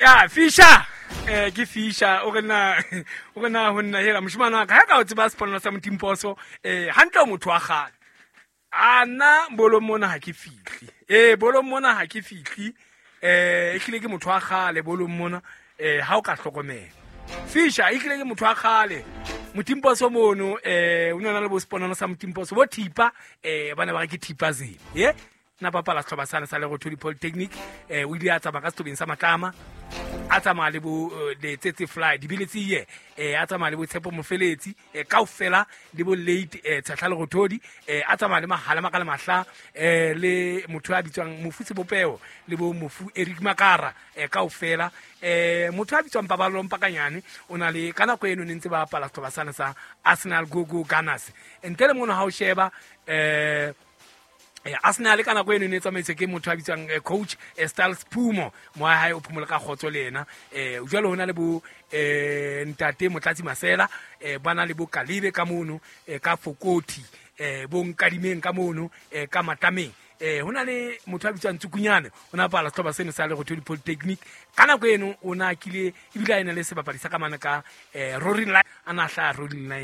Ya fisha, ke fisha, o re na o re na ho nna hela moshimane wa ka, ha ka o tseba seponelo sa Motimposo, hantle o motho wa kgale. A nna bolong mona ha ke fihle, ee, bolong mona ha ke fihle, ehlile ke motho wa kgale bolong mona, ha o ka hlokomela fisha, ehlile ke motho wa kgale Motimposo mono, o ne na le bo seponono sa Motimposo bo thipa, ba ne ba re ke thipa zeng ye na bapala setlhopha sane sa Lerothodi Polytechnic. O ile a tsamaya ka setlhopheng sa Matlama, a tsamaya le bo Letsetse Fly dibile tsie, a tsamaya le bo Tshepo Mofeletsi, kaofela le bo late Tshehla Lerothodi, a tsamaya le Mahala Makala Mahla, le motho a bitswang Mofu Sebopeo le bo Mofu Eric Makara, kaofela, motho a bitswang Paballo Mpakanyane o na le ka nako eno ne ntse ba bapala setlhopha sane sa Arsenal Go Go Gunners. Ntle le mono ha o sheba, Arsenal ka nako eno ne e tsamaiswe ke motho a bitswang coach Styles Phumo, moya hae o phomole ka kgotso le ena. Jwale ho na le bo ntate Motlatsi Masela, ba na le bo Kalibe ka mono, ka Fokoti, bo Nkadimeng ka mono, ka Matlameng, ho na le motho a bitswang Tsukunyane, o na bapala setlhopha seno sa Lerothodi Polytechnic ka nako eno, o na kile ebile a ena le sebapadi sa ka mane ka Roaring Line, a na hlaha Roaring Line.